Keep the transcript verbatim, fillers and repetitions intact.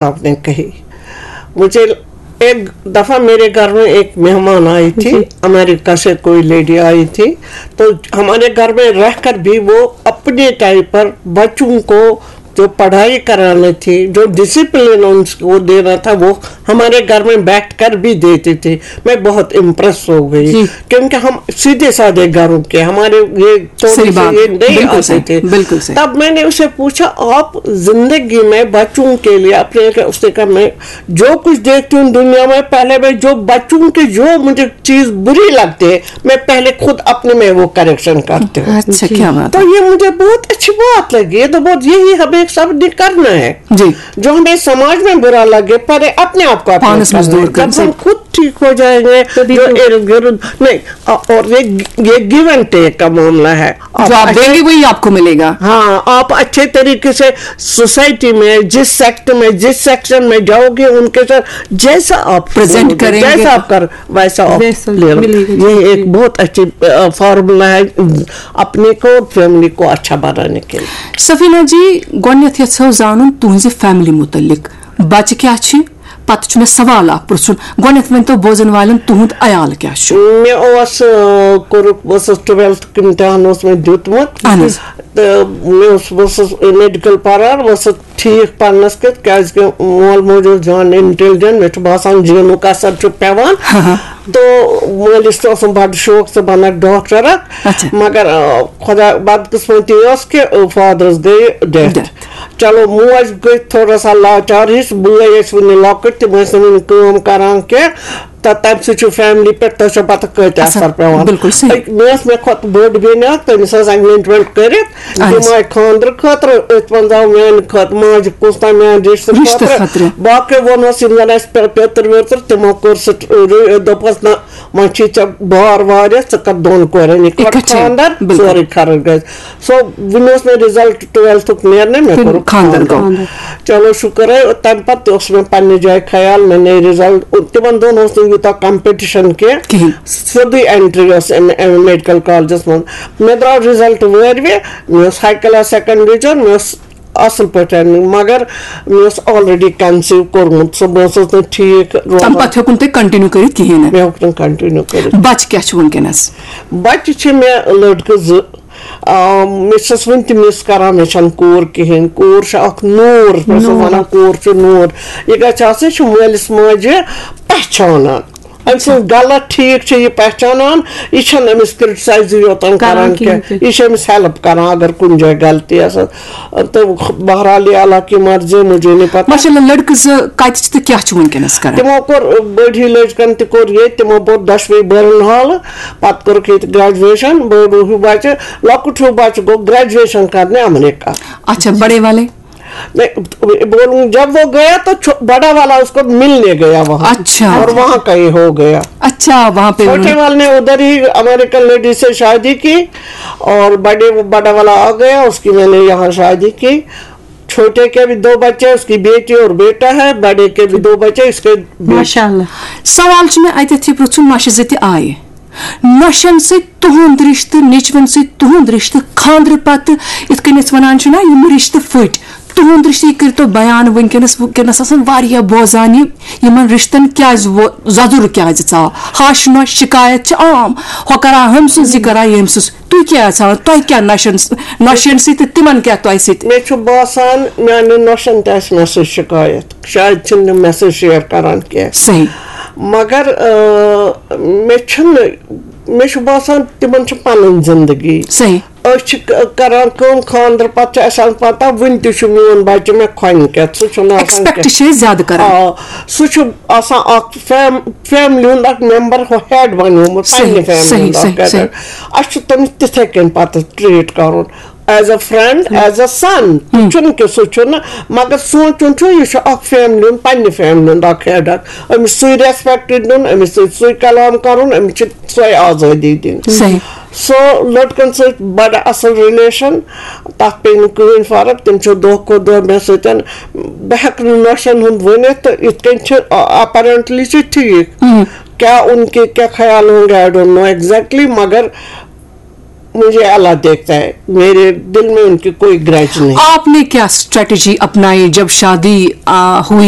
आपने कही। मुझे एक दफा मेरे घर में एक मेहमान आई थी, जी। अमेरिका से कोई लेडी आई थी, तो हमारे घर में रहकर भी वो अपने टाइम पर बच्चों को जो पढ़ाई करानी थी, जो डिसिप्लिन उनको देना था, वो हमारे घर में बैठकर भी देती थी। मैं बहुत इम्प्रेस हो गई, जी। क्योंकि हम सीधे साधे घरों के, हमारे ये थोड़े सही से बात। ये नहीं बिल्कुल आते सही, थे। बिल्कुल सही। तब मैंने उसे पूछा, "आप जिंदगी में बच्चों के लिए अपने लिए?" उसने कहा, "मैं जो कुछ देखती हूँ दुनिया में, पहले मैं जो बच्चों के जो मुझे चीज बुरी लगती है, मैं पहले खुद अपने में वो करेक्शन करती हूँ।" अच्छा, जी। क्या बात तो है। ये मुझे बहुत अच्छी बात लगी। ये तो बहुत, यही हमें सब करना है। जी। जो हमें समाज में बुरा लगे, पहले अपने आप को अपने पानस करना है। मजदूर कर जब हम सही। खुद ठीक हो जाएंगे, तभी जो तो। इर्द गिर्द नहीं, अ-, और ये, ये गिव एंड टेक का मामला है। आप जो आप अच्छे देंगे, वही आपको मिलेगा। हाँ, आप अच्छे तरीके से सोसाइटी में, जिस सेक्ट में, जिस सेक्शन में जाओगे, उनके साथ जैसा आप प्रेजेंट करोगे, करेंगे। जैसा आप कर, वैसा आप वैसा ले लो। मिलेगा, ये जी। एक बहुत अच्छी, अ, फॉर्मूला है, अपने को और फैमिली को अच्छा बनाने के लिए। सफीना जी, گۄڈٕنٮ۪تھ یژھو زانُن تُہنٛزِ فیملی مُتعلق۔ بچہٕ کیٛاہ چھِ؟ پتہٕ چھُ مےٚ سوال اکھ پرژھُن۔ گۄڈٕنٮ۪تھ ؤنۍتو بوزن والٮ۪ن، تُہُنٛد عیال کیٛاہ چھُ؟ مےٚ اوس، آ، کوٚرُکھ، بہٕ ٲسٕس ٹُویلتھُک امتحان اوس مےٚ دیُتمُت۔ اہن حظ۔ تہٕ مےٚ اوس، بہٕ ٲسٕس میڈیکل پران، بہٕ ٲسٕس ٹھیٖک پرنس کِتھ، کیازِ کہِ مول موج اوس جان انٹیلیجنٹ، مےٚ چھُ باسان جینُک اثر چھُ پٮ۪وان۔ ہاں، ہاں۔ تہٕ مٲلِس تہِ اوسُم بڑٕ شوق، ژٕ بنکھ ڈاکٹر اکھ۔ اچھا۔ مگر، آ، خۄدا بدقٕسمتی ٲس کہِ، آ، فادرس گٔیہِ ڈیتھ۔ ڈیتھ۔ چلو، موج گٔے تھوڑا سا لاچار ہِش، بٲے ٲسۍ وُنہِ لۄکٕٹۍ، تِم ٲسۍ نہٕ وُنہِ کٲم کران کینٛہہ۔ تہٕ تَمہِ سۭتۍ چھُ فیملی پٮ۪ٹھ، تۄہہِ چھو پتہ کۭتیٛاہ اثر۔ اثر پٮ۪وان۔ بِلکُل صحیح۔ أکۍ، مےٚ ٲس، مےٚ کھۄتہٕ بٔڑ بیٚنہِ اکھ، تٔمِس ٲس انگیجمنٹ کٔرِتھ، اہن حظ۔ تِم آیہِ خانٛدرٕ خٲطرٕ، أتھۍ منٛز آو میانہِ خٲطرٕ ماجہِ کُس تام میانہِ رِشتہٕ رِشتہٕ خٲطرٕ۔ خٲطرٕ۔ باقٕے ووٚنہوس، یِم زن اَسہِ پے-، پیٚتٕر ویٚتٕر، تِمو کوٚر سُہ، دوٚپُس، نہ، وۄنۍ چھُے ژےٚ بار واریاہ، ژٕ کر دۄن کورٮ۪ن یِکوٹہٕ اِکٹھے، خانٛدر، بِلکُل۔ سورُے خرٕچ گژھِ۔ سو وُنہِ اوس مےٚ رِزلٹ ٹُویلتھُک نیرنَے، مےٚ کوٚرُکھ خانٛدر خانٛدر۔ گوٚو۔ خانٛدر۔ چلو شُکر ہے، تَمہِ پَتہٕ تہِ اوس مےٚ پنٛنہِ جایہِ خیال، مےٚ نیرِ رِزلٹ۔ تِمَن دۄہَن اوس نہٕ یوٗتاہ کَمپِٹِشَن کینٛہہ۔ کِہیٖنۍ۔ سیوٚدُے اٮ۪نٹرٛی ٲس اَمہِ، اَمہِ میڈیکل کالجَس منٛز۔ مےٚ درٛاو رِزلٹ وٲرۍ وِ، مےٚ اوس ہاے کلاس سیکنڈ ڈِوِجن، مےٚ اوس اَصٕل پٲٹھۍ، مگر مےٚ اوس آلریڈی کَنسیٖو کوٚرمُت، سُہ بہٕ ٲسٕس نہٕ ٹھیٖک روزان۔ تَمہِ پَتہٕ ہیوٚکُن تُہۍ کَنٹِنیوٗ کٔرِتھ کِہیٖنۍ نہٕ؟ مےٚ ہیوٚک نہٕ کَنٹِنیوٗ کٔرِتھ۔ بَچہِ کیٛاہ چھِ وٕنکیٚنَس؟ بَچہِ چھِ مےٚ لٔڑکہٕ زٕ۔ آ، مےٚ چھَس وٕنہِ تہِ مِس کَران، مےٚ چھَنہٕ کوٗر کِہیٖنۍ۔ کوٗر چھِ اَکھ نوٗر، مےٚ چھِ نوٗر۔ وَنان کوٗر چھِ نوٗر۔ یہِ گژھِ آسٕنۍ، یہِ چھُ مٲلِس ماجہِ پہچانان۔ أمۍ سٕنٛز غلط ٹھیٖک چھِ یہِ پہچانان، یہِ چھَنہٕ أمِس کرٹیسایزٕے یوتَن کران کران کِہیٖنۍ کینٛہہ، تہِ۔ یہِ چھِ أمِس ہیلپ کران اگر کُنہِ جایہِ غلطی آسان۔ تہٕ بہرحال، یہِ اللہ کی مرضی، مجھے نہیں پتہ۔ ماشاءاللہ، لڑکہٕ زٕ کتہِ چھِ تہٕ کیٛاہ چھِ وٕنکیٚنس کران؟ تِمو کوٚر، بٔڑ ہی لٔج کٔرِتھ، تہِ کوٚر ییٚتہِ، تِمو پوٚر دۄشوے بٔرٕن ہالہٕ، پتہٕ کوٚرُکھ ییٚتہِ گریجویشن۔ بوٚڑ ہیوٗ بچہٕ، لۄکُٹ ہیوٗ بچہٕ گوٚو گریجویشن کرنہِ امریکہ۔ اچھا، بڑے والے؟ نہیں، بولوں، جب وہ گیا تو چھو-، بڑا والا اس کو ملنے گیا وہاں۔ اچھا۔ اور وہاں کہیں ہو گیا۔ اچھا، وہاں پہ چھوٹے انہوں نے والے نے ادھر ہی امریکن لیڈی سے شادی کی اور بڑے، بڑا والا آ گیا، اس کی میں نے یہاں شادی کی۔ چھوٹے کے بھی دو بچے، اس کی بیٹی اور بیٹا ہے، بڑے کے بھی دو بچے، اس کے بیٹے۔ ماشاءاللہ۔ سوال چھُ مےٚ اَتٮ۪تھ یہِ پرٛژھُن، نۄشہِ زٕ تہِ آیہِ۔ نۄشن سۭتۍ تُہُنٛد رِشتہٕ، نیٚچوٮ۪ن سۭتۍ تُہُنٛد رِشتہٕ، خانٛدرٕ پتہٕ، یِتھ کٔنۍ أسۍ وَنان چھِ نا، یِم رِشتہٕ پھٔٹۍ، تُہُنٛد رِشتہٕ، یہِ کٔرۍتو بیان وٕنکیٚنَس، وٕنکیٚنَس آسَن واریاہ بوزان یہِ، یِمَن رِشتَن کیٛازِ وو-، زَزُر کیٛازِ ژاو؟ ہَش نۄش شِکایت چھِ عام، ہۄ کَران ہُمۍ سٕنٛز، یہِ کَران ییٚمۍ سٕنٛز۔ تُہۍ کیٛاہ یَژھان؟ تۄہہِ کیٛاہ نۄشَن، نۄشَن سۭتۍ تہٕ تِمَن کیٛاہ تۄہہِ سۭتۍ؟ مےٚ چھُ باسان، میٛانٮ۪ن نۄشَن تہِ آسہِ مےٚ سۭتۍ شِکایت۔ شاید چھِنہٕ تِم مےٚ سۭتۍ شِیَر کَران کینٛہہ۔ صحیح۔ مگر، آ، مےٚ چھُنہٕ، مےٚ چھُ باسان، تِمَن چھِ پَنٕنۍ زِندگی۔ صحیح۔ أسۍ چھِ ک-، کران کٲم، خانٛدرٕ پتہٕ چھِ اَسہِ آسان پتہ، وُنہِ تہِ چھُ میون بچہٕ مےٚ کھۄنہِ کٮ۪تھ، سُہ چھُنہٕ آسان expect کینٛہہ۔ چھِ أسۍ زیادٕ کران۔ آ، سُہ چھُ آسان اکھ فیم-، فیملی ہُنٛد اکھ ممبر، ہُہ ہیڈ بنیومُت صحیح، پننہِ فیملی صحیح، ہُنٛد اکھ صحیح، ہیڈ۔ صحیح۔ اَسہِ چھُ تٔمِس تِتھے کٔنۍ پتہٕ ٹریٖٹ کرُن۔ As a friend, as a son، تہِ چھُنہٕ کہِ سُہ چھُنہٕ، مگر سونٛچُن چھُ، یہِ چھُ اکھ فیملی ہُنٛد، پننہِ فیملی ہُنٛد اکھ ہیڈ اکھ۔ أمِس سُے ریسپیکٹ دیُن، أمِس سۭتۍ سُے کلام کرُن، أمِس چھِ سۄے آزٲدی دِنۍ۔ صحیح۔ سو لڑکن سۭتۍ بڑٕ اصل ریلیشن، تتھ پیٚیہِ نہٕ کٕہٕنۍ فرق، تِم چھِ دۄہ کھۄتہٕ دۄہ مےٚ سۭتۍ۔ بہٕ ہیٚکہٕ نہٕ نۄشن ہُنٛد ؤنِتھ، تہٕ یِتھ کٔنۍ چھِ، اپیرنٹلی چھِ ٹھیٖک۔ ہم۔ کیا ان کے کیا خیال ہوں گے، I don't know exactly، مگر मुझे अल्लाह देखता है, मेरे दिल में उनकी कोई ग्रज नहीं। आपने क्या स्ट्रेटजी अपनाई जब शादी आ, हुई